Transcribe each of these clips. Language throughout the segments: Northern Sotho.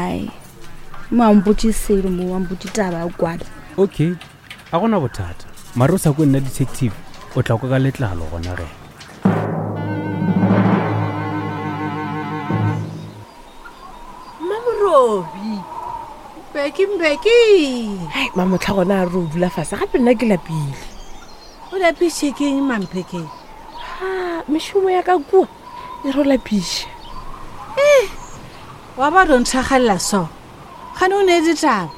Ai mo a mpotse selo mo a mpotse taba ya kwala. Okay, a gona bothata. Mare o sa kwe nna detective, o tla kwa ka letlalo gona ge. Mmamorobi. Mbeki Mbeki. Hai, mamotlha gona a re o dula fase gape nna ke lapile. O lapiše ke eng Mamphekeng? Ha, mešomo ya ka kua e ro lapiša. Eh, wa ba ro nthagalela so. Gane o ne ditaba.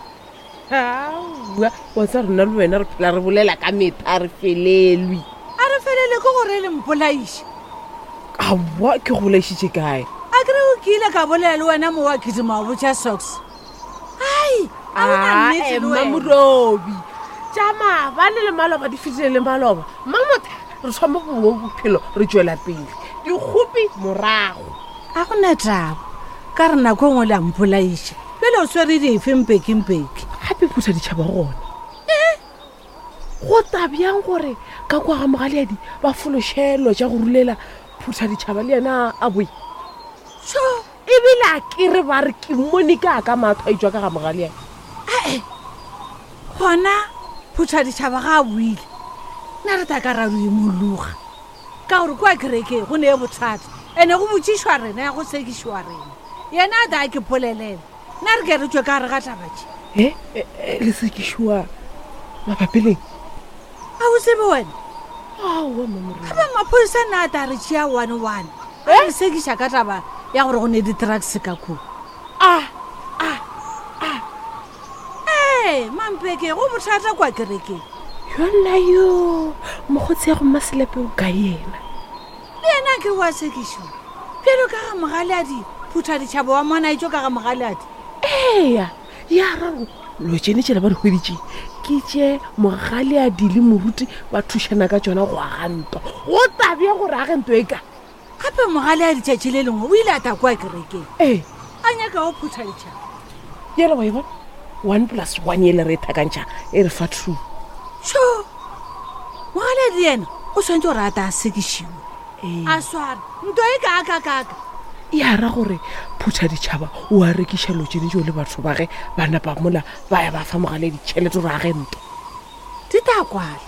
Aowa, wa tsa rena le wena re phela re bolela ka metha a re felelwe. A re felele ke gore le mpolaiše. Aowa, ke go bolaišitše kae? A kere o kile ka bolela le wena mo wa kitima wa botša socks. Ai, a o na nnete le wena. Mmamorobi, tša maabane le maloba di fetile le maloba. Mmamotha, re thoma bongwe bophelo re tšwela pele. Dikgopi morago. A go na taba. Ka re nako e nngwe le a mpolaiša. Bjale o swere dife mpeki-mpeki? Gape phutha ditšhaba gona. E, go ta bjang gore ka kwa ga Mogaleadi ba fološelo tša go rulela phutha ditšhaba le yena a boe? Tšho! Ebile a ke re ba re ke mmone ka ka matho a itšwa ka ga Mogaleadi. Ae, gona phutha ditšhaba ga a boile, na re ta ka ra ro imologa? Ka gore kua kerekeng go ne bothata, ene go botšišwa rena ya go sekišwa rena. Yena a da ke polelela, na re ke re tšwe ka gare ga taba tše. E, e, e, le sekišwa mabapi leng? A o tsebe wena? Aowa, Mmamorena. Gape maphodisa na a ta re tšea one one. A re sekiša ka taba ya gore go ne di-drugs ka kua. A, a, a. Ee, Mampeke, go bothata kwa kerekeng. Yona yo, mokgotsi ya go Mmaselepe o kae yena? Le yena ke wa sekišo. Bjalo ka ga Mogaleadi, phutha ditšhaba wa mona etšo ka ga Mogaleadi. Eya, ya raro lo tšene tšela ba di hweditše ke tše Mogaleadi le moruti ba thušana ka tšona go aga ntwa. Go tabja gore age ntwa e ka. Gape mogale a letšatši le lengwe o ile a tla kua kerekeng. Ee. A nyaka go phutha ditšhaba. Yela wa e bona? One plus one yele re e thakantšha e re fa two. Sho! Mogale le yena o swanetše gore a ta a sekišiwe. Ee. A sware ntwa e kaakakaaka. Ya ra gore phutha ditšhaba o a rekiša lotšene tšeo le batho ba ge ba napa mola ba ya ba fa mogale ditšhelete gore a ge ntwa. Di tla kwala.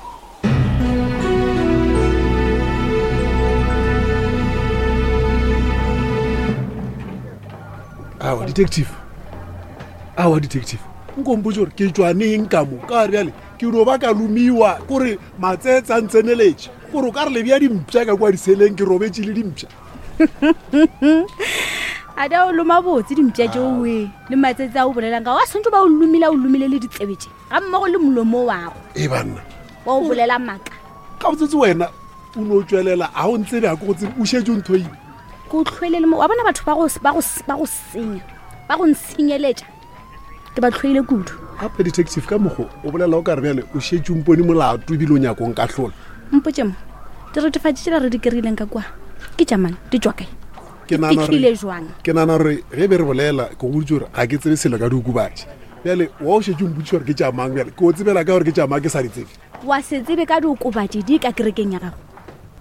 Awa detective, awa detective, nko mpotse gore ke tšwa neng ka mo ka bjale ke no ba ka lomiwa kore matsetse a ntseneletše gore o ka re lebja dimpša ka kwa diseleng ke robetše le dimpša. A da o loma botse dimpša tšeoe le matsetse a o bolelang ka wa swantse ba o lomile a o lomile le ditsebe tše. Ga mmogo le molomo wago. E banna. Wa o bolela maaka. Ga botsetse wena o no tšwelela a o ntsebe a ko go tsebe o šetše o nthoile. Ke o tlhoile le mo wa bona batho ba go ba go ba go senya ba go ntshenyeletša ke ba tlhoile kudu. Gape detective ka mokgo o bolela o ka re bjale o šetše o mpone molato ebile o nyako nkahlola. Mpotše mo diretefatši tšela re di kry-ileng ka kua ke tša mang di tšwa kae? Ke nagana gore- Fihlile jwang? Ke nagana gore ge be re bolela ke go boditše gore ga ke tsebe selo ka diokobatši. Bjale wa o šetše o mpotšiša gore ke tša mang bjale ke o tsebela ka gore ke tša mang ke sa di tsebe. Wa se tsebe ka diokobatši di ka kerekeng ya gago.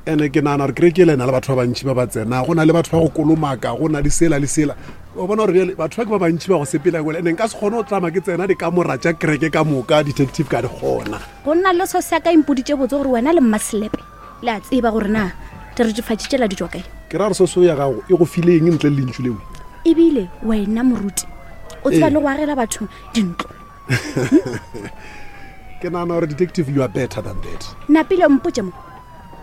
Ene ke nagana gore kereke ele e na le batho ba bantši ba ba tsena go na le batho ba go kolomaka go na le sela le sela o bona gore bjale batho ba ke ba bantši ba go sepela kole ene nka se kgone go tlama ke tsena dikamora tša kereke ka moka detective ka di kgona. Go nna le so sa ka impoditše botse gore wena le Mmaselepe le a tseba gore na diretefatši tšela di tšwa kae. Ke ra gore soso ya gago e go file eng ntle le lentšu leo? Ebile wena moruti o tseba Ee. le go agela batho dintlo. Ke nagana gore detective you are better than that. Napile mpotše mo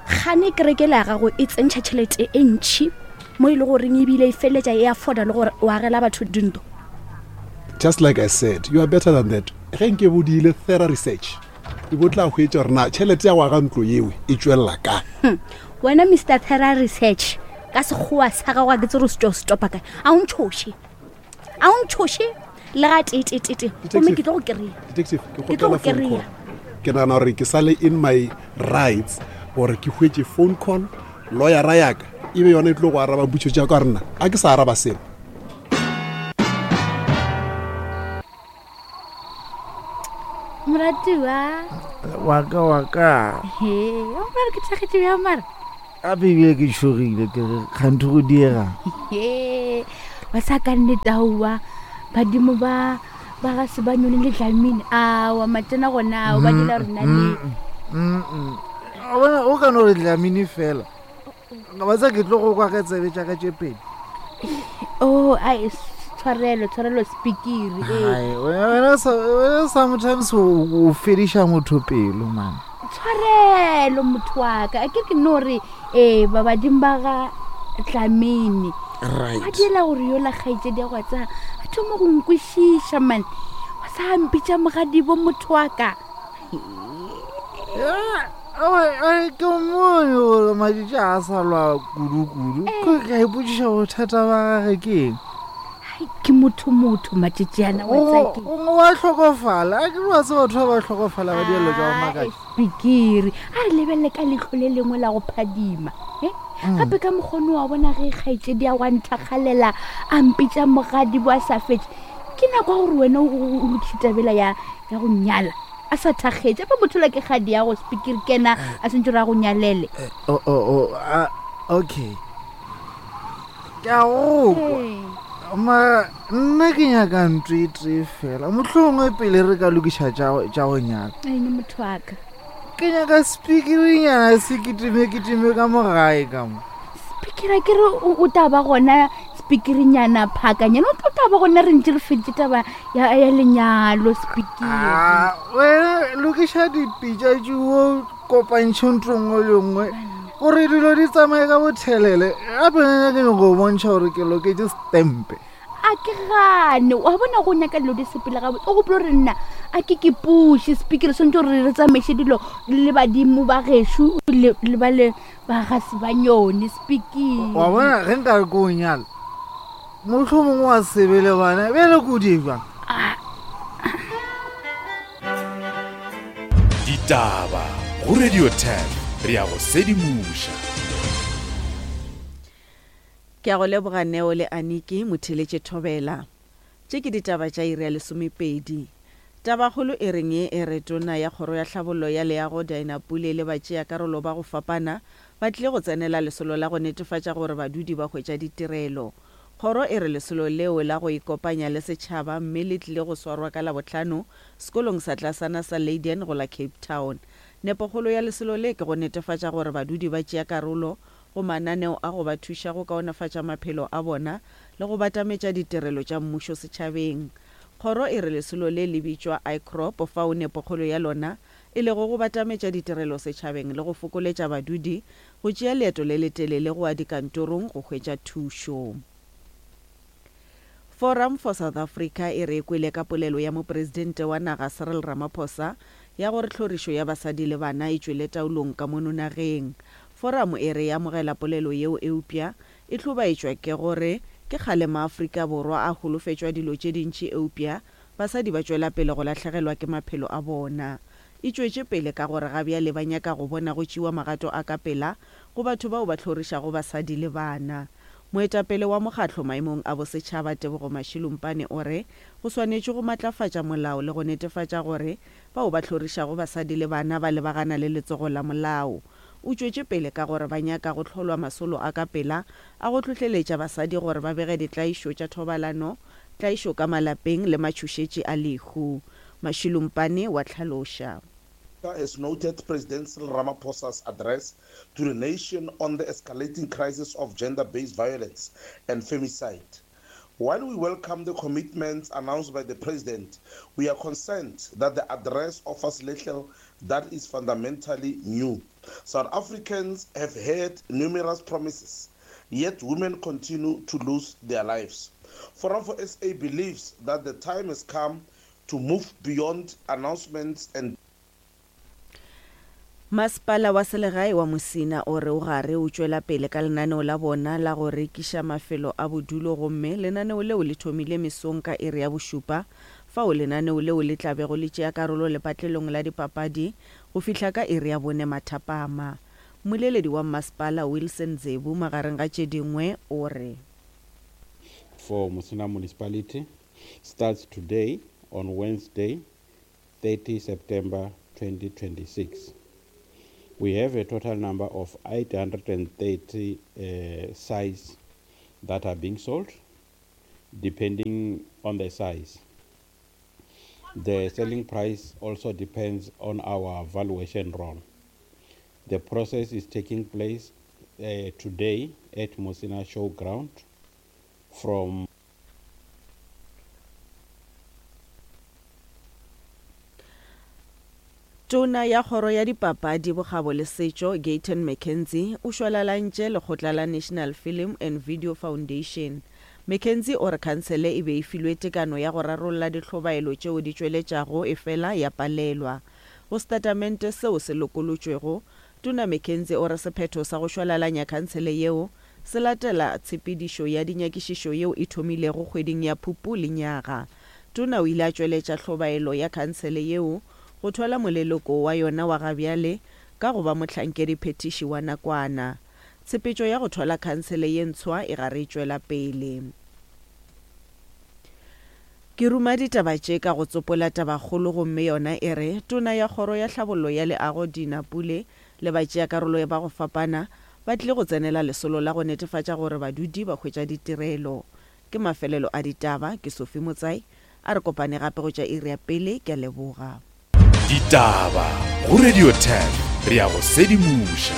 gane kereke la gago e tsentšha tšhelete e ntšhi mo e le goreng ebile e feleletša e afforda le gore o agela batho dintlo. Just like I said, you are better than that. Ge nke bo diile thorough research e bo tla hwetša gore na tšhelete ya go aga ntlo yeo e tšwelela kae. Wena Mister Thorough Research ka sekgowa sa gago ga ke tsere o se tšwa o se topa kae. A o ntšhoše. A o ntšhoše le ga tee-tee-tee-tee. Gomme ke tlo go kry-a. Detective, ke Ke tlo go kgopela phone kry-a. call. Ke nagana gore ke sa le in my rights gore ke hwetše phone call, lawyera ya ka e be yona e tlo go araba mpotšo tša ka gore nna a ke sa araba selo. Moratiwa. Wa ka, wa ka. He, o mara ke thakgetše bjang mara? Gape ebile ke tšhogile ke re kganthe go diega. He, ba sa ka nnete aowa. Badimo ba ba ga se ba nyone le Dlamini. Awa matena gona ao ba dira rena le. O bona o ka no re Dlamini fela. Ba tsa ke tlo go kwa ka tsebe tša ka tše pedi. Oh, ai tshwarelo, tshwarelo speaker. Eh. Ai, wena wena sometimes o fediša motho pelo man. Tshwarelo motho wa ka. A ke ke no re eh ba badimo ba ga Dlamini. Right. Ba diela gore yola kgaetšedi ya go tsa a thoma go nkwešiša man. Wa sa mpitša mogadibo motho wa ka. Ke mmone gore matšatši a sa lwa kudu-kudu ke ka ipotšiša bothata ba gage ke eng ke motho motho matšatšiana gongwe wa tlhokofala a ke re wa tse batho ba ba tlhokofala ba dielo tsa go makatša pikiri a re lebelele ka leitlho le lengwe la go phadima e gape ka mokgone wa bona ge kgaetšedi ya gwa nthakgalela a mpitša mogadi bo a sa fetše ke nako ya gore wena o lokiše tabela ya ya go nyala a sa thakgetše fa motho la ke kgadi ya go speaker kena a sentse re a go nyalele eh, oh, oh, oh, ah, okay ke a go kwa mara nna ke nyaka ntlo e tee fela mohlomongwe pele re ka lokiša tša go nyala ene motho wa ka ke nyaka speakerinyana se kitime kitime ka mo gae ka mo speakera ke re o tla ba gona speakerinyana phakanyana o tla ba gona re ntse re feditse taba ya ya lenyalo speakere Ah, wena lokiša dipitša tšeo kopantšhe ntlo nngwe le nngwe gore dilo di tsamaye ka bothelele gape nna ke nyako go bontšha gore ke loketše stempe a ke gane wa bona go nyaka dilo di sepele gabotse o gopolo gore nna a ke ke puše speaker swantse gore re tsamaiše dilo le badimo ba gešo le ba le ba ga se ba nyone speaker wa bona ge nka re ko o nyala motlho mongwe wa sebe le bana bjale ko di jang Ditaba go Radio 10 re ya go sedimoša. Ke a go leboga Neo le Aniki, Motheeletše Thobela. Tše ke ditaba tša iri ya lesomepedi. Tabakgolo e reng ye e re Tona ya Kgoro ya Tlhabollo ya Leago Dinah Pule le batšeakarolo ba go fapana ba tlile go tsenela lesolo la go netefatša gore badudi ba hwetša ditirelo. Kgoro e re lesolo leo la go ikopanya le setšhaba mme le tlile go swarwa ka Labohlano sekolong sa tlasana sa Leyden go la Cape Town. Nepokgolo ya lesolo le ke go netefatša gore badudi ba tšea karolo go mananeo a go ba thuša go kaonefatša maphelo a bona le go batametša ditirelo tša mmušo setšhabeng. Kgoro e re lesolo le le bitšwa ICROP fao nepokgolo ya lona e lego go batametša ditirelo setšhabeng le go fokoletša badudi go tšea leeto le letelele go ya dikantorong go hwetša thušo. Forum for South Africa e re e kwele ka polelo ya Mopresidente wa naga Cyril Ramaphosa ya gore tlhorišo ya basadi le bana e tšwele taolong ka mono nageng. Forum e re e amogela polelo yeo eupša e hlobaetšwa ke gore ke kgale maAfrika Borwa a holofetšwa dilo tše dintši eupša basadi ba tšwela pele go lahlegelwa ke maphelo a bona. E tšwetše pele ka gore ga bjale ba nyaka go bona go tšewa magato a ka pela go batho bao ba hlorišago basadi le bana. Moetapele wa mokgatlo maemong a bosetšhaba Tebogo Mashilumpane o re go swanetšwe go matlafatša molao le go netefatša gore bao ba hlorišago basadi le bana ba lebagana le letsogo la molao. O tšwetše pele ka gore ba nyaka go hlolwa masolo a ka pela a go hlohleletša basadi gore ba bege ditlaišo tša thobalano, tlaišo ka malapeng le matšhošetši a lehu. Mashilumpane wa hlaloša. Has noted President Cyril Ramaphosa's address to the nation on the escalating crisis of gender-based violence and femicide. While we welcome the commitments announced by the president, we are concerned that the address offers little that is fundamentally new. South Africans have heard numerous promises, yet women continue to lose their lives. Forum for SA believes that the time has come to move beyond announcements and Masepala wa selegae wa Musina o re o gare o tšwela pele ka lenaneo la bona la go rekiša mafelo a bodulo gomme lenaneo leo le thomile mesong ka iri ya bošupa fao lenaneo leo le tla bego le tšea karolo lepatlelong la dipapadi go fihla ka iri ya bone mathapama. Mmoleledi wa mmasepala Wilson Dzebu magareng ga tše dingwe o re. For Musina Municipality starts today on Wednesday 30 September 2026. We have a total number of 830 uh, sites that are being sold. depending on the size. The selling price also depends on our valuation roll. The process is taking place uh, today at Musina Showground from Tona ya Kgoro ya Dipapadi, Bokgabo le Setšo, Gayton McKenzie, o šwalalantše lekgotla la National Film and Video Foundation. McKenzie o re khansele e be e filwe tekano ya go rarolla dihlobaelo tšeo di tšweletšago efela ya palelwa. Go setatamente seo se lokolotšwego, Tona McKenzie o re sephetho sa go šwalalanya khansele yeo se latela tshepedišo ya dinyakišišo yeo e thomilego kgweding ya Phupu lenyaga. Tona o ile a tšweletša hlobaelo ya khansele yeo go thwala moleloko wa yona wa gabjale ka go ba mohlankedi-phethiši wa nakwana. Tshepetšo ya go thwala khansele ye ntshwa e gare e tšwela pele. Ke ruma ditaba tše ka go tsopola tabakgolo gomme yona e re, Tona ya Kgoro ya Tlhabollo ya Leago Dina Pule le batšeakarolo ba go fapana ba tlile go tsenela lesolo la go netefatša gore badudi ba hwetša ditirelo. Ke mafelelo a ditaba, ke Sophie Motsai, a re kopane gape go tša iri ya pele, ke a leboga. Ditaba go Radio 10 re ya go sedimoša.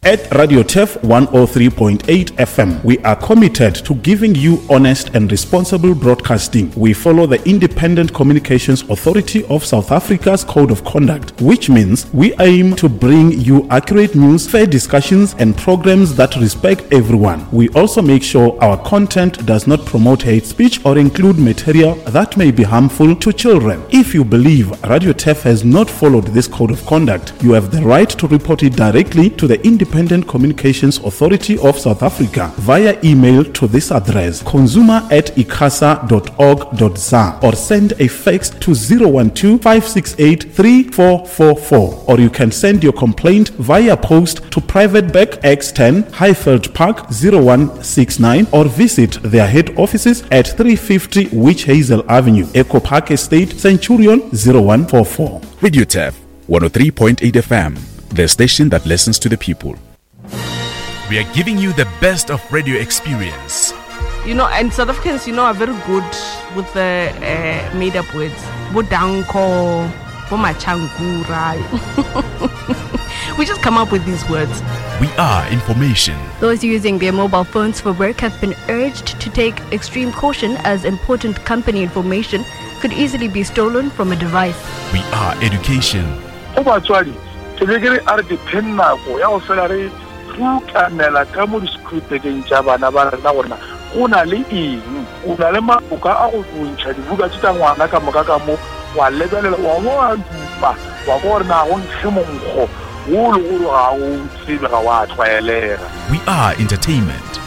At Radio Turf 103.8 FM, we are committed to giving you honest and responsible broadcasting. We follow the Independent Communications Authority of South Africa's Code of Conduct, which means we aim to bring you accurate news, fair discussions, and programs that respect everyone. We also make sure our content does not promote hate speech or include material that may be harmful to children. If you believe Radio Turf has not followed this code of conduct, you have the right to report it directly to the Independent Communications Authority of South Africa via email to this address consumer at icasa.org.za or send a fax to 012 568 3444 or you can send your complaint via post to Private Bank X10 Highveld Park 0169 or visit their head offices at 350 Witch Hazel Avenue, Echo Park Estate, Centurion 0144. Radio Turf 103.8 FM, the station that listens to the people. We are giving you the best of radio experience. You know, and South Africans, you know, are very good with the uh, made up words. Bodanko, Bomachankura. we just come up with these words. We are information. Those using their mobile phones for work have been urged to take extreme caution as important company information could easily be stolen from a device. We are education. Go batswadi, ke be ke re a re dipheng nako ya go fela re rutamela ka mo di-screwpekeng tša bana ba rena gore na go na le eng. O na le maloka a go ntšha dibuka tše tša ngwana ka moka ka mo, wa lebelela, wa bo wa dupa, wa kwa gore na go nkge monkgo wo le gore ga o tsebe, ga wa tlwaelega. We are entertainment.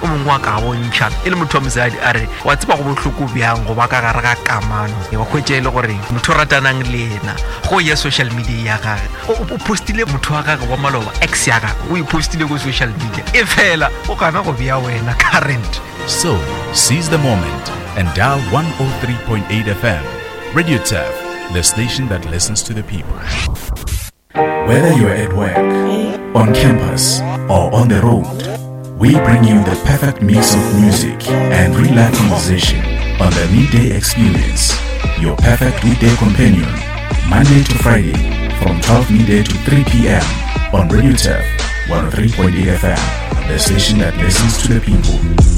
O mongwe wa ka bontšha e le motho wa mosadi a re wa tseba go bohloko bjang go ba ka gare ga kamano wa hwetša e le gore motho o ratanang le yena go ya social media ya gage o postile motho wa gage wa maloba ex ya gage o e postile ko social media e fela o gana go bea wena current. So, seize the moment and dial 103.8 FM. Radio Turf, the station that listens to the people. Whether you're at work, on campus, or on the road, we bring you the perfect mix of music and real life conversation on the Midday Experience, your perfect weekday companion, Monday to Friday from 12 midday to 3 p.m. on Radio Turf 103.8 FM, the station that listens to the people.